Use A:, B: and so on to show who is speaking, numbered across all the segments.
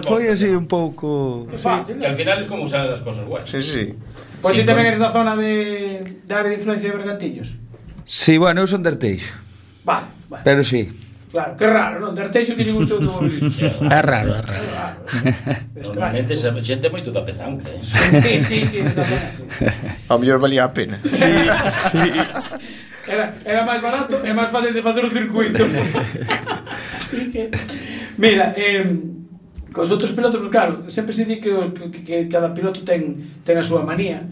A: foi así un pouco...
B: Que fácil,
C: que al final es como salen las cosas guays.
D: Sí.
B: Pois ti tamén eres da zona de área de influencia de Bergantiños.
A: Sí, bueno, eu son de Arteixo.
B: Vale.
A: Pero sí.
B: Claro, que raro, non? De Arteixo que lle gustou todo vivir.
E: É raro.
C: Normalmente esa xente moito da Pezanca,
B: Sí, esa zona, sí.
D: A mellor valía a pena.
A: Sí.
B: Era máis barato e máis fácil de facer o circuito. Mira, cos outros pilotos, pues claro, sempre se di que cada piloto ten a súa manía.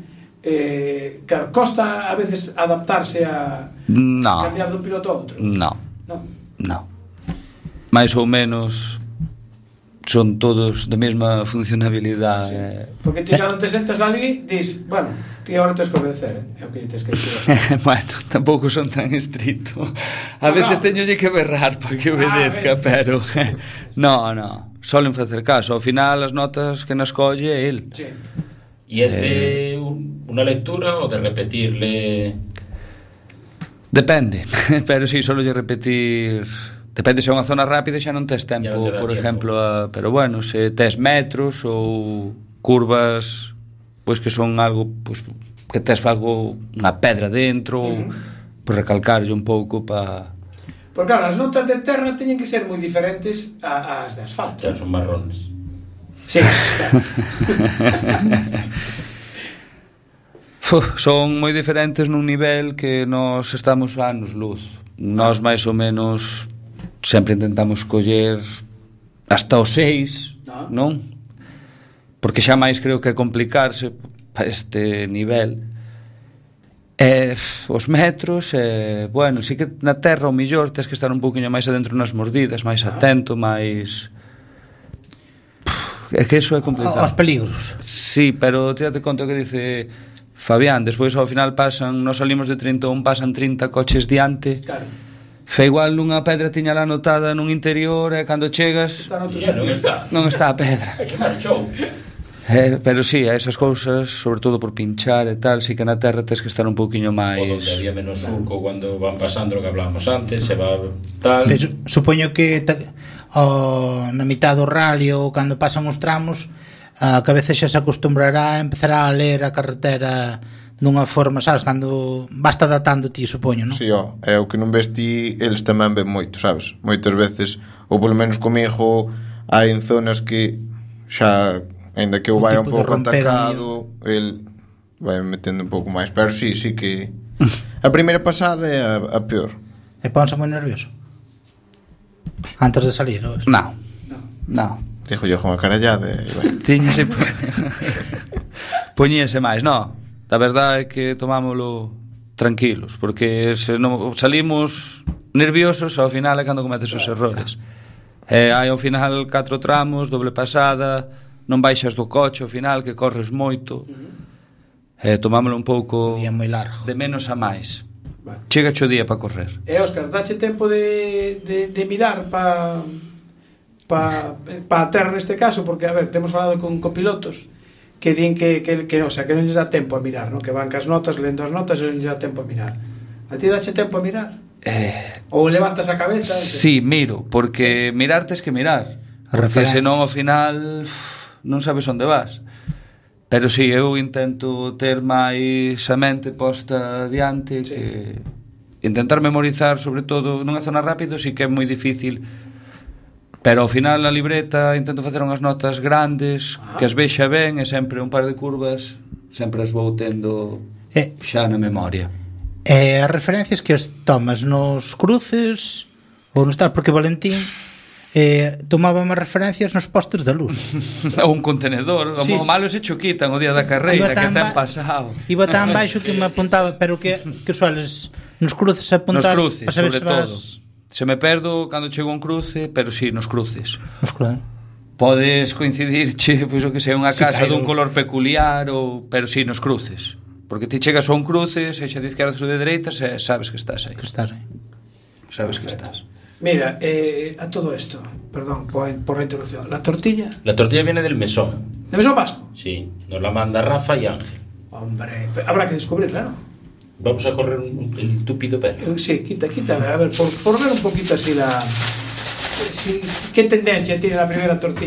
B: Claro, costa a veces adaptarse a cambiar dun piloto a outro.
A: No. Mais ou menos son todos da mesma funcionabilidade.
B: Sí. Porque ti cando te sentas ali dis, bueno, ti agora tens que obedecer, é o que tens que decir.
A: Bueno, tampouco son tan estricto. A veces teñolle que berrar para que obedezca, pero no, solen facer caso. Ao final as notas que nas colle é el.
B: Sí.
C: E es de unha lectura ou de repetirle?
A: Depende, pero si, solo lle repetir. Depende se é unha zona rápida xa non tes tempo, por exemplo, pero bueno, se tes metros ou curvas, pois que son algo, pois que tes algo, unha pedra dentro, pois recalcarlle un pouco para...
B: Porque claro, as notas de terra teñen que ser moi diferentes ás de asfalto.
C: Xa son marrones.
B: Sí, claro.
A: Son moi diferentes nun nivel que nós estamos anos luz. Nós máis ou menos sempre intentamos coller hasta os 6, non? Porque xa máis creo que complicarse para este nivel. Os metros, bueno, sí que na terra o millor tens que estar un pouquinho máis adentro nas mordidas, máis atento, máis... É que iso é complicado.
E: Os peligros.
A: Sí, pero tírate conta que dice Fabián, despois ao final nos salimos de 31, pasan 30 coches diante.
B: Claro.
A: Fe igual nunha pedra tiña lá anotada nun interior e cando chegas non está a pedra.
C: Que marchou.
A: Pero sí, a esas cousas, sobre todo por pinchar e tal, sí que na terra tens que estar un pouquiño máis...
C: O donde había menos surco cando van pasando o que hablábamos antes, se va tal...
E: Pero supoño que na mitad do rally ou cando pasan os tramos, a cabeza xa se acostumbrará a empezar a ler a carretera dunha forma, sabes, cando basta datando ti, supoño, non?
D: Si, é o que non ves ti, eles tamén ven moito, sabes? Moitas veces, ou polo menos comigo, hai en zonas que xa, ainda que eu vai un pouco atacado, el vai metendo un pouco máis, pero sí que a primeira pasada é a peor.
E: E ponse moi nervioso antes de salir, ou?
A: Non.
D: Dijo yo con a carallada
A: Tiñese poñíase máis, non. A verdade é que tomámolo tranquilos, porque se non salimos nerviosos, ao final é cando cometes os errores. Hai ao final 4 tramos, doble pasada, non baixas do coche ao final, que corres moito. Tomámolo un pouco
E: día moi largo,
A: de menos a máis. Chega o día para correr.
B: Óscar, dache tempo de mirar para a terra neste caso, porque, a ver, temos falado con copilotos que din que o sea, que non lles dá tempo a mirar, ¿no? Que van cas notas, lendo as notas e non lles dá tempo a mirar. A ti dache tempo a mirar? Ou levantas a cabeza?
A: Sí, miro, porque mirar tes que mirar, porque senón ao final non sabes onde vas. Pero sí, eu intento ter máis a mente posta diante, que intentar memorizar, sobre todo nunha zona rápido, sí que é moi difícil. Pero ao final a libreta intento facer unhas notas grandes, que as vexa ben, e sempre un par de curvas sempre as vou tendo xa na memoria.
E: As referencias que as tomas nos cruces ou nos tal, porque Valentín tomaba máis referencias nos postes de luz.
A: Ou un contenedor, o malo se cho quitan o día da carreira, que ten pasado.
E: Iba tan baixo que me apuntaba, pero que sueles nos cruces apuntar.
A: Nos cruces, sobre todo. Se me perdo cando chego a un cruce, pero si, nos cruces. Podes coincidirche, pois o que sea, unha casa dun color peculiar, pero si, nos cruces. Porque ti chegas a un cruce, sexa de izquierdas ou de dereitas, e sabes que estás aí. Sabes que estás.
B: Mira, a todo esto, perdón por la interrupción, ¿la tortilla?
C: La tortilla viene del mesón.
B: ¿Del mesón vasco?
C: Sí, nos la manda Rafa y Ángel.
B: Hombre, habrá que descubrirla, ¿no?
C: Vamos a correr el túpido pelo.
B: Sí, quita, a ver, por ver un poquito así ¿qué tendencia tiene la primera tortilla?